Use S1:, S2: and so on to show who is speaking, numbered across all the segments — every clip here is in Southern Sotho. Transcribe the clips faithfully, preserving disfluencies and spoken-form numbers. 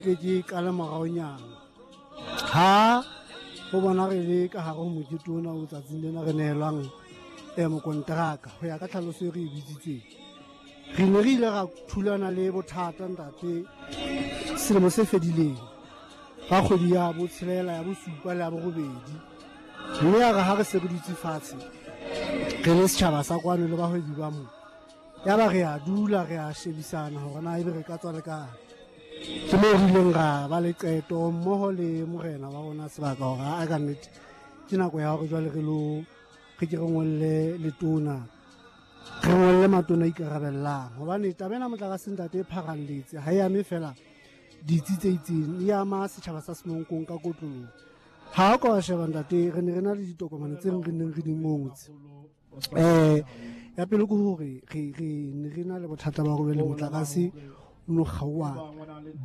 S1: Ke ke qale moraonyana ha ho bona re le ka hare ho mokete ona o tsatsing lena re nehelwang eh, mokonteraka ho ya ka tlhaloso e re e bitsitseng. Re ne re ile ra thulana le bothata ntate selemo se fedileng ka kgwedi ya botshelela, ya bosupa le ya borobedi, mme ya re ha re se re dutse fatshe re le setjhaba sa kwano le bahwebi ba mo, ya ba re a dula re a shebisana hore na ebe re ka tswa le kae. Ke moo re ileng ra ba le qeto mmoho le morena wa rona sebaka hore a ka nnete ke nako ya hore jwale re lo re ke re ngolle letona, re ngolle matona a ikarabellang, hobane taba ena motlakase ntate e pharalletse, ha e ame fela ditsi tse itseng, e ama setjhaba sa Semonkong ka kotloloho. Ha o ka wa sheba ntate, re ne re na le ditokomane tse re neng re di ngotse. Eh, ya pele ke hore re re ne re na le bothata ba hore le motlakase o no kgaoha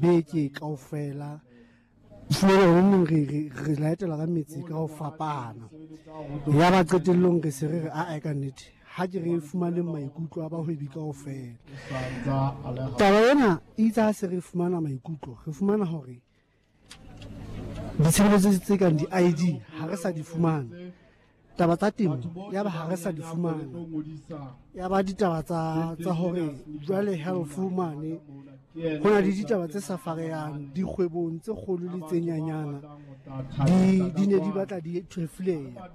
S1: beke kaofela. Fumana hore neng re re re laetela ka metsi ka ho fapana. Ya ba qetellong re se re re a ka nnete ha ke re fumaneng maikutlo a bahwebi kaofela. Taba ena e itse ha se re fumana maikutlo, re fumana hore ditshebeletso tse kang di-I D ha re sa di fumana. Taba tsa temo ya ba ha re sa di fumana. Ya ba ditaba tsa, tsa hore jwale health mane ho na le ditaba tse sa farehang dikgwebong tse kgolo le tse nyanyana, di, di ne di batla di thwefuleha.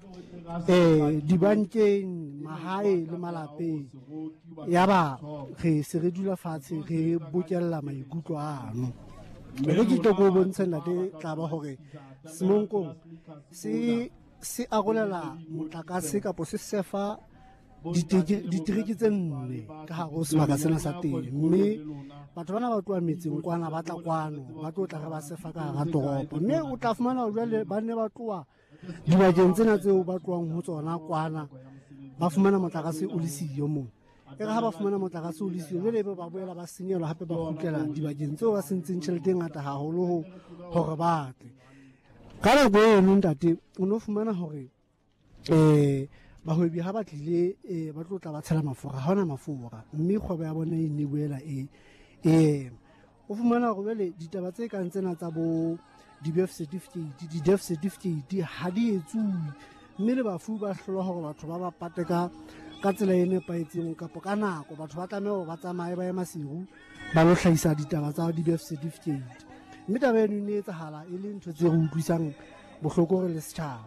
S1: Eh, dibankeng, mahae le malapeng. Ya ba re se re dula fatshe re bokella maikutlo ano. Mme ke tlo ko bontsha ntate tla ba hore Semonkong se se arolela motlakase kapo se sefa ditereke tse nne ka hare ho sebaka sena sa teng, mme batho bana ba tloha metseng kwana ba tla kwano ba tlo tla re ba sefa ka hara toropo, mme o tla fumana hore jwale ba ne ba tloha dibakeng tsena tseo ba tlohang ho tsona kwana ba fumana motlakase o le siyo moo. E re ha ba fumana motlakase o le siyo jwale ebe ba boela ba senyelwa hape ba kgutlela dibakeng tseo ba sentseng tjhelete e ngata haholo ho hore ba tle. Ka nako eno ntate o no fumana hore eh bahwebi ha ba tlile eh ba tlo tla ba tshela mafura, ha hona mafura, mme kgwebo ya bona e ne boela e eh o fumana hore jwale ditaba tse kang tsena tsa bo di-birth certificate, di-death certificate ha di etsuwe, mme le bafu ba hlolwa hore batho ba ba pate ka ka tsela e nepahetseng kapo ka nako. Batho ba tlameha hore ba tsamaye ba ye Maseru ba lo hlahisa ditaba tsa di-birth certificate, mme taba eno e ne etsahala e le ntho tse re utlwisang bohloko re le setjhaba.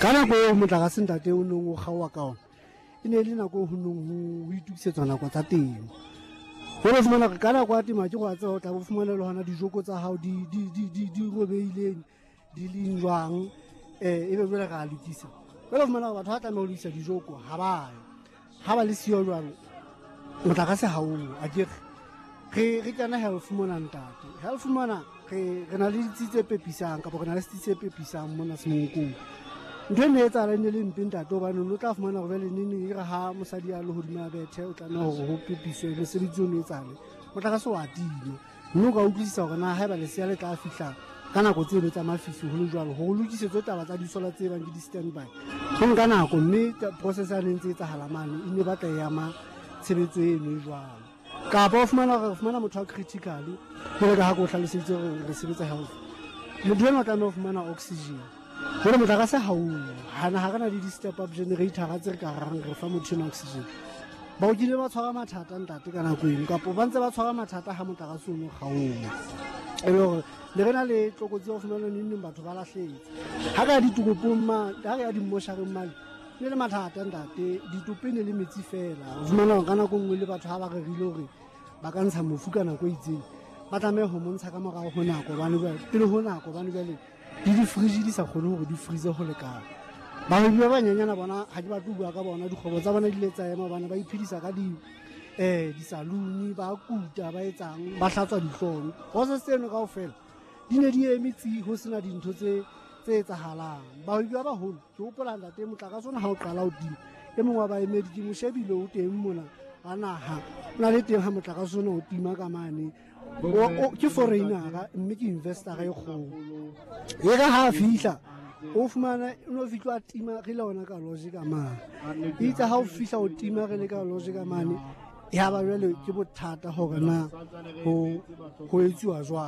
S1: Ka nako eo motlakase ntate o neng o kgaoha ka ona e ne e le nako ho neng ho itokisetswa nako tsa temo. Jwale o fumana hore ka nako ya temo ha ke go a tseba o tla bo fumana le hona dijoko tsa hao di, di, di, di, di robehileng di leng jwang, eh ebe jwale re a lokisa. Jwale o fumana hore batho ha tlameha ho lokisa dijoko ha ba yo, ha ba le siyo jwalo motlakase ha o akere. Re re kena health mona ntate, health mona re re na le ditsi tse pepisang kapa re na le setsi se pepisang mona Semonkong. Ntho e ne etsahala e ne le mpe ntate, hobane o tla fumana hore jwale neng neng e re ha mosadi a le hodima bethe o tlameha hore ho pepiswe mosebetsi ono etsahale, motlakase wa tima, mme o ka utlwisisa hore na haeba lesea le tla fihla ka nako tseno tsa mafifi ho le jwalo hore o lokisetswe taba tsa disola tse bang ke di-standby ho nka nako, mme process ya ne ntse etsahala mane e ne batla e ama tshebetso eno e jwalo. Kapa o fumana hore re fumana motho wa critical, jwalo ka ha ke o hlaloseditse hore re sebetsa health, motho enwa o tlameha ho fumana oxygen. Jwale motlakase ha o hana, ha re na le di-step up generator tse re ka rang re fa motho enwa oxygen. Baoki ne ba tshwara mathata ntate ka nako eno, kapo ba ntse ba tshwara mathata ha motlakase o no kgaoha. E le hore ne re na le tlokotsi ya ho fumana neng neng batho ba lahlehetse. Ha re ya ditoropong mane, ha re ya dimmoshareng mane, ne le mathata ntate, ditopo e ne le metsi fela. O fumana hore ka nako nngwe le batho ha ba rerile hore ba ka ntsha mofu ka nako e itseng, ba tlameha ho mo ntsha ka morao ho nako, hobane jwale pele ho nako, hobane jwale le di-fridge di sa kgone hore di freeze ho lekana. Bahwebi ba banyenyana bona ha ke batle ho bua ka bona, dikgwebo tsa bona di ile tsa ema hobane ba iphedisa ka di, eh, di-saloon, ba kuta, ba etsang, ba hlatswa dihlooho. Process tseno kaofela di ne di eme tsi ho sena dintho tse, tse etsahalang. Bahwebi ba baholo, ke hopola ntate motlakase ona ha o qala ho tima, e mong wa baemedi ke mo shebile o teng mona wa naha, o na le teng ha motlakase ona o tima ka mane. O, o, ke foreigner-a mme ke investor-a e kgolo. E re ha a fihla o fumana o no fihla a tima re le hona ka lodge ka mane. Itse ha o fihla o tima re le ka lodge ka mane, ya ba jwale ke bothata hore na ho, ho etsuwa jwang.